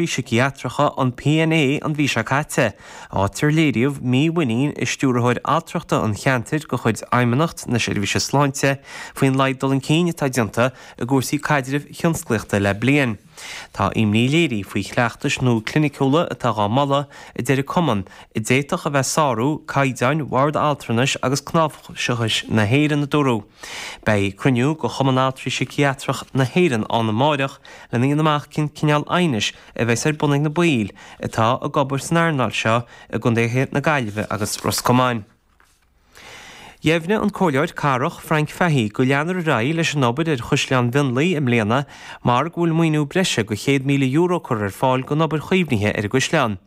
Altraí Síciatracha, an PNA, an mhí seo caite, áit ar léiríodh mímhuinín i Stiúrthóir Altrachta an cheantair de chuid Fheidhmeannacht na Seirbhíse Sláinte faoin laghad dul chun cinn atá déanta i gcúrsaí caidrimh thionsclaíochta le bliain. Tá imní léirithe faoi chleachtais nua cliniciúla atá dhá moladh, a deir an cumann, a d'fhéadfadh a bheith ag sárú caighdeáin Bhord Altranais agus Cnáimhseachais na hÉireann, a dúradh. Beidh cruinniú de Chumann Altraí Síciatrach na hÉireann ann amáireach lena dhéanamh amach cén cineál aighnis a bheas ar bun ag na baill atá ag obair san earnáil seo i gcontaetha na Gaillimhe agus Ros Comáin. Dheimhnigh an Comhairleoir Cathrach Frank Fahey go leanfar ar aghaidh leis an obair ar Chaisleán Mhionlaigh i mbliana mar go bhfuil maoiniú breise de €100,000 curtha ar fáil don obair chaomhnaithe ar an gcaisleán.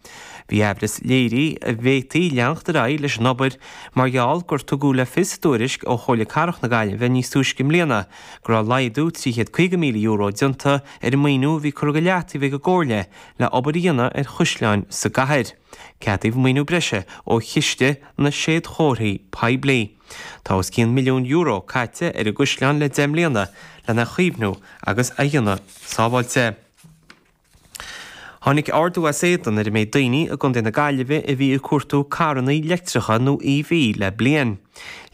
Bhí aimhreas léirithe an bhféadfaí leanacht ar aghaidh leis an obair mar gheall gur tugadh le fios i dtuairisc ó Chomhairle Cathrach na Gaillimhe níos túisce i mbliana go raibh laghdú €350,000 déanta ar an maoiniú a bhí curtha go leataobh ag an gComhairle le obair a dhéanamh ar chaisleáin sa gcathair. Ceadaíodh maoiniú breise ó Chiste na Séadchomharthaí Poiblí. Tá os cionn €1 milliún caite ar an gcaisleán le 10 mbliana lena chaomhnú agus a dhéanamh sábháilte. Tháinig ardú as éadan ar an méid daoine i gContae na Gaillimhe a bhí ag cuartú carranna leictreacha nó EV le bliain.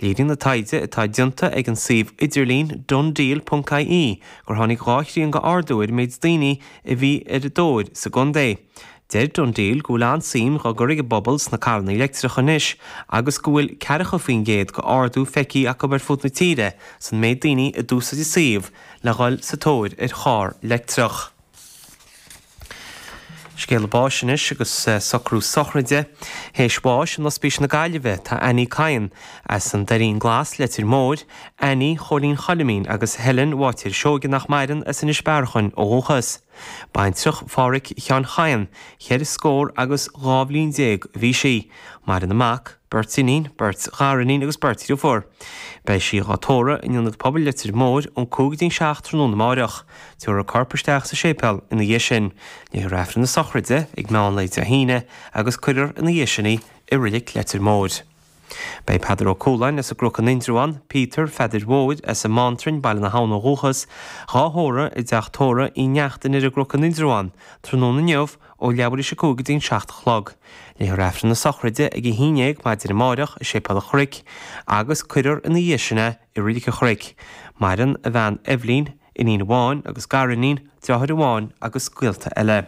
Léiríonn an taighde atá déanta ag an suíomh idirlín DoneDeal.ie gur tháinig 2 thrian d'ardú ar an méid daoine a bhí ar a dtóir sa gcontae. Deir DoneDeal go bhfuil an-suim dhá gcur ag an bpobal sna carranna leictreacha anois agus go bhfuil 40% d'ardú feicthe acu ar fud na tíre san méid daoine a d'úsáid an suíomh le dhul sa tóir ar charr leictreach. Scéala báis anois agus socrú sochraide. Théis bháis in Ospís na Gaillimhe tá Annie Kyan as an Doirín Glas, Leitir Móir, Annie Chóilín Choilimín agus Helen Bháitéir Seoige nach maireann as Inis Bearachain ó dhúchas. Baintreach Phádhraic Sheáin Chadhain, cheithre scór agus 12 bhliain a bhí sí. Maireann a mac, beirt iníon, beirt ghariníon agus beirt dhriofúr. Beidh sí dhá tórramh in Ionad Pobail Leitir Móir ón 5 go dtí an 7 tráthnóna amáireach. Tabharfar a corp isteach sa séipéal ina dhiaidh sin. Léifear Aifreann na sochraide ag meán lae Dé hAoine agus cuirfear ina dhiaidh sin í i Reilig Leitir Móir. Beidh Peadar Ó Cualáin as an gCnoc in Indreabhán, Peter Pheadair Mhóir as an mBeanntrainn, Baile na hAbhann ó dhúchas, dhá thórramh i dteach tórraimh Uí Neachtain ar an gCnoc in Indreabhán, tráthnóna inniu ó leathuair théis a 5 go dtí an 7 a chlog. Léifear Aifreann na sochraide ag a 11 maidin amáireach i Séipéal an Chnoic agus cuirfear ina dhiaidh sin é i Reilig an Chnoic. Maireann a bhean Eibhlín, iníon amháin agus gariníon, deartháir amháin agus gaolta eile.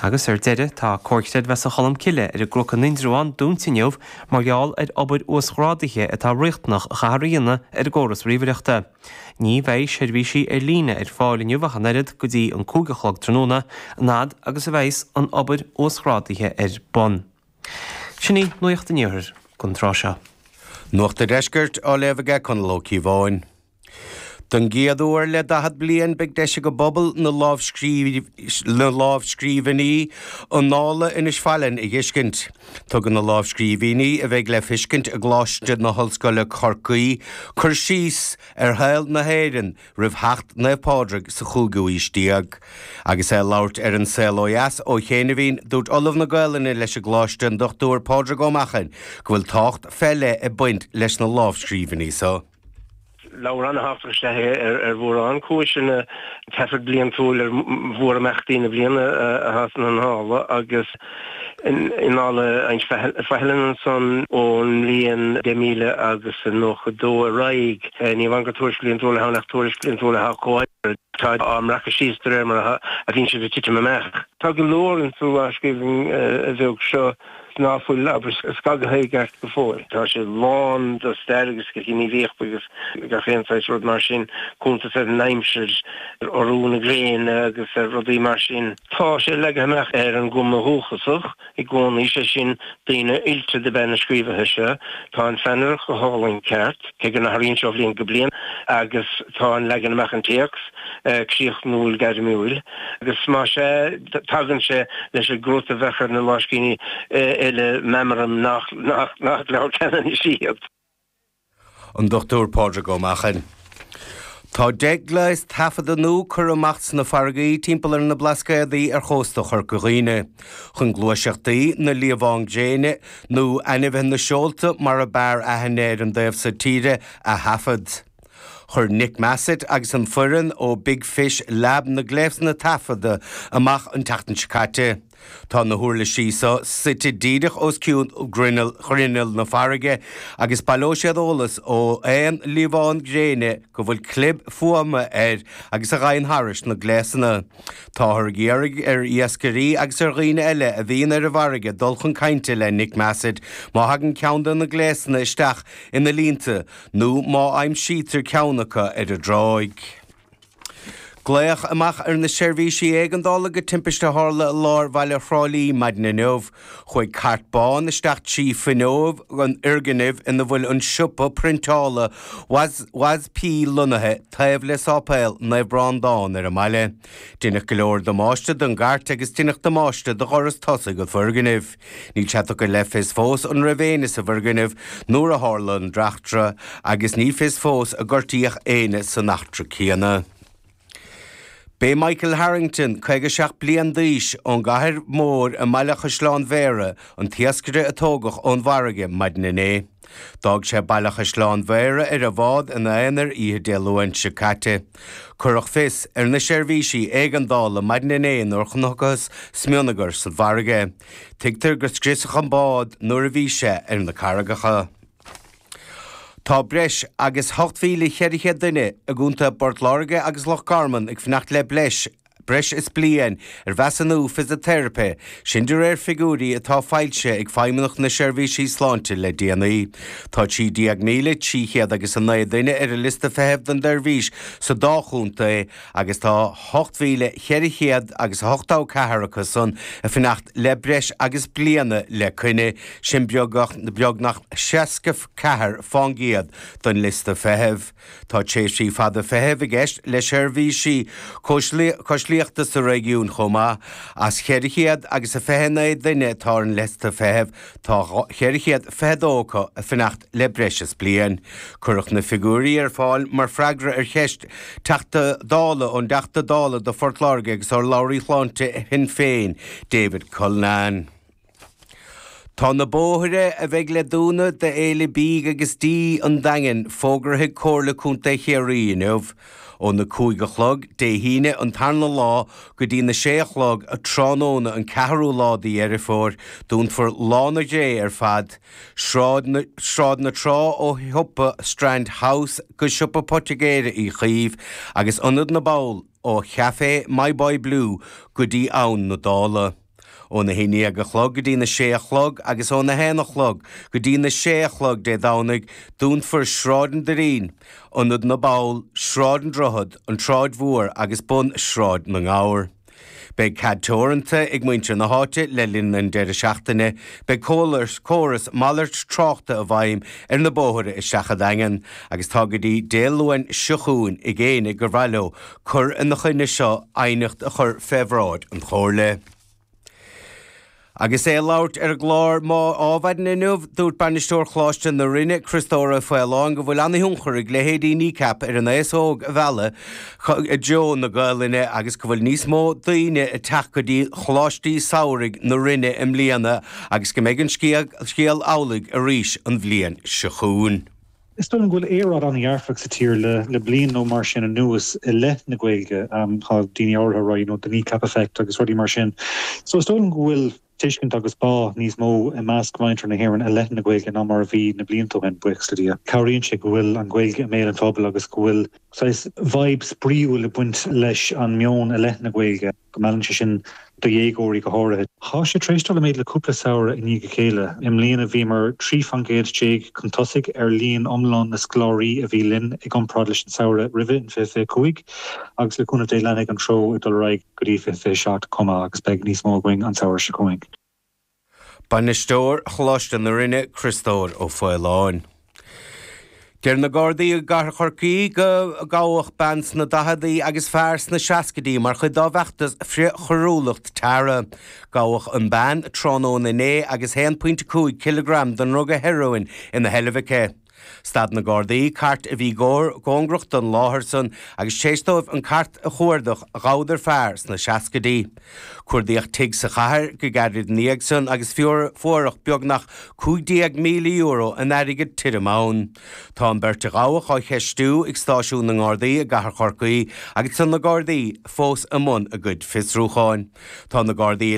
Agus ar deireadh, tá Comhar Creidmheasa Cholmcille ar an gCnoc in Indreabhán dúnta inniu mar gheall ar obair uasghrádaithe atá riachtanach a chaithfear a dhéanamh ar an gcóras ríomhaireachta. Ní bheidh seirbhísí ar líne ar fáil inniu ach an oiread go dtí an 5 a chlog tráthnóna, an fhad agus a bheidhs an obair uasghrádaithe ar bun. Sin í Nuacht an Iarthair don tráth seo. Nuacht an Deiscirt á léamh aige Conall Ó Cíobháin. Don gcéad uair le 40 bliain beidh deis ag an bpobal na lámhscríbhinní Annála Inis Faithleann a dh'fheiscint. Tugann na lámhscríbhinní, a bheidh le feiscint i gColáiste na hOllscoile Corcaí, cur síos ar shaol na hÉireann roimh theacht Naomh Pádraig sa chúigiú aois déag. Agus é ag labhairt ar An Saol Ó Dheas ó chianaibhín, dúirt Ollamh na Gaolainne leis an gColáiste, an Dr Pádraig Ó Machain, go bhfuil tábhacht fé leith ag baint leis na lámhscríbhinní so. Leabhar an-thábhachtach is ea é ar mhórán cúiseanna. Taifead bliantúil ar mhórimeachtaí na bliana atá sna hannála agus in Annála Inse Faithleann ansan ón mbliain 10,000 agus 92 ar aghaidh. Ní amháin gur tuairisc bhliantúil atá ann ach tuairisc bhliantúil atá comhaimseartha, atá á mbreacadh síos de réir mar a bhíonn siad ag titim amach. Tá go leor insa lámhscríbhinn bheag seo. ná fuil, abair, scagaithe i gceart go fóill. Tá sé lán de stair agus de ghníomhaíocht agus gach aon saghas rud mar sin, cuntas ar an aimsir, ar urú na gréine agus ar rudaí mar sin. Tá sé leagtha amach ar an gcuma dhúchasach i gcónaí, sé sin, daoine oilte dob ea na scríobhaithe seo. Tá an pheannaireacht go hálainn ceart, cé go n-athraíonn sé ó bhliain go bliain, agus tá an leagan amach an téacs críochnúil gairmiúil. Agus más ea, tagann sé leis an gcrut a bheadh ar na lámhscríbhinní eile, meam orm nach leabhar Ceanannais iad. An Dr Pádraig Ó Machain. Tá 10 gléas taifeadta nua curtha amach sna farraigí timpeall ar na Blascaodaí ar chósta Chorca Dhuibhne chun gluaiseachtaí na liamhán gréine, nó ainmhithe na seolta mar a b'fhearr aithne ar an dtaobh so tíre, a thaifead. Chuir Nick Massett agus an foireann ó Big Fish Lab na gléasanna taifeadta amach an tseachtain seo caite. Tá na huirlisí seo suite díreach os cionn ghrinneall na farraige agus baileoidh siad eolas ó aon liamhán gréine go bhfuil clib fuaime air agus a ghabhann thairis na gléasanna. Táthar ag iarraidh ar iascairí agus ar dhaoine eile a bhíonn ar an bhfarraige dul chun cainte le Nick Massett má thagann ceann de na gléasanna isteach ina línte nó má aimsítear ceann acu ar an dtráigh. Glaodh amach ar na seirbhísí éigeandála go timpiste a tharla i lár bhaile Thrá Lí maidin inniu. Chuaigh cairt bán isteach trí fuinneog an fhoirgnimh ina bhfuil an siopa priontála WASP lonnaithe taobh le Sáipéal Naomh Breandán ar an mbaile. Deineadh go leor damáiste don gcairt agus deineadh damáiste do dhoras tosaigh an foirgnimh. Níl sé tugtha le fios fós an raibh éinne sa bhfoirgneamh nuair a tharla an eachtra agus ní fios fós ar gortaíodh éinne san eachtra céanna. B'é Michael Harrington, 57 bliain d'aois, ón gCathair Mhór i mBaile Chaisleáin Bhéarra, an t-iascaire a tógadh ón bhfarraige maidin inné. D'fhág sé Baile Chaisleáin Bhéarra ar a bhád ina aonar oíche Dé Luain seo caite. Cuireadh fios ar na seirbhísí éigeandála maidin inné nuair a chonacthas smionagar sa bhfarraige. Tuigtear gur scriosadh an bád nuair a bhí sé ar na carraigeacha. Tá breis agus 8,400 duine i gContae Phort Láirge agus Loch Garman ag fanacht le breis breis is bliain ar mheasúnú fisiteiripe, sin de réir figiúirí atá foilsithe ag Feidhmeannacht na Seirbhísí Sláinte le déanaí. Tá 13,300 agus 9 duine ar an liosta feithimh don tseirbhís sa dá chontae agus tá 8,400 agus 84 acu san ag fanacht le breis agus bliana le coinne, sin beagnach 64 fán gcéad den liosta feithimh. Tá tréimhsí fada feithimh i gceist le seirbhísí cóislíochta sa réigiún chomh maith. As 400 agus a 29 duine atá ar an liosta feithimh, tá 422 acu ag fanacht le breis is bliain. Cuireadh na figiúirí ar fáil mar freagra ar cheist Teachta Dála ón dTeachta Dála do Phort Láirge agus urlabhraí shláinte Shinn Féin, David Cullinane. Tá na bóithre a bheidh le dúnadh d'Fhéile Bídh agus Dí an Daingin fógartha ag Comhairle Contae Chiarraí inniu. Óna 5 a chlog Dé hAoine an tarna lá go dtí na sé a chlog tráthnóna an ceathrú lá de Dheireadh Fómhair, dúnfar Lána Dé ar fad, Sráid na Sráid na Trá ó shiopa Strand House go siopa Poitigéara Uí Chaoimh agus Ionad na bPoll ó Chaifé My Boy Blue go dtí Abhainn na Dála. Óna 11 a chlog go dtí na sé a chlog agus óna haon a chlog go dtí na sé a chlog Dé Domhnaigh, dúnfar Sráid an Doirín, Ionad na bPoll, Sráid an Droichead, an tSráid Mhór agus bun Sráid na nGabhar. Beidh cead teoranta ag muintir na háite le linn an deireadh seachtaine. Beidh córas malairt tráchta i bhfeidhm ar na bóithre isteach sa Daingean agus tá go dtí Dé Luain seo chugainn ag éinne gur mhaith leo cur ina choinne seo aighneacht a chur fé bhráid an Chomhairle. Agus é ag labhairt ar an gclár Adhmhaidin inniu, dúirt Bainisteoir Choláiste na Rinne, Criostóir Ó Faoláin, go bhfuil an-thionchar ag leithéidí Kneecap ar an aos óg a mhealladh i dtreo na Gaelainne agus go bhfuil níos mó daoine ag teacht go dtí Choláistí Samhraidh na Rinne i mbliana agus go mbeidh an scéal amhlaidh arís an bhliain seo chugainn. Is dóigh liom go bhfuil aeráid an-dhearfach sa tír le bliain nó mar sin anuas i leith na Gaeilge. Tá daoine áirithe ag rá you know the Kneecap effect agus rudaí mar sin. So is dóigh liom go bhfuil tuiscint agus bá níos mó i measc mhuintir na hÉireann i leith na Gaeilge ná mar a bhí na blianta ó shin, buíochas le Dia. Cabhraíonn sé go bhfuil an Ghaeilge i mbéal an phobail agus go bhfuil saghas vibe spraíúil ag baint leis an meon i leith na Gaeilge. go meallann sé sin do dhéagóirí go háirithe. Tá sé tar éis dul i méid le cúpla samhradh i ndiaidh a chéile. I mbliana bhíomar 13 fan gcéad chun tosaigh ar líon iomlán na scoláirí a bhí linn i gcomparáid leis an samhradh roimhe in 2025 agus le cúnamh Dé leanfaidh an treo ag dul ar aghaidh go dtí 2027 chomh maith agus beidh níos mó againn an samhradh seo chugainn. Bainisteoir Choláiste na Rinne, Criostóir Ó Faoláin. Deir na Gardaí i gcathair Chorcaí go gabhadh bean sna daicheadaí agus fear sna seascaidí mar chuid dá bhfeachtas frith-choiriúlacht Tara. Gabhadh an bean tráthnóna inné agus 1.5 cileagram den ndruga heroin ina sheilbh aici. Stad na Gardaí cairt a bhí cóngarach don láthair san agus tar éis dóibh an cairt a chuardach ghabhadar fear sna seascaidí. Cuardaíodh tigh sa chathair go gairid ina dhiaidh san agus fuaireadh beagnach €15,000 in airgead tirim ann. Tá an bheirt a gabhadh á cheistiú ag stáisiún na nGardaí i gcathair Chorcaí agus tá na Gardaí fós i mbun a gcuid fiosrúcháin. Tá na Gardaí.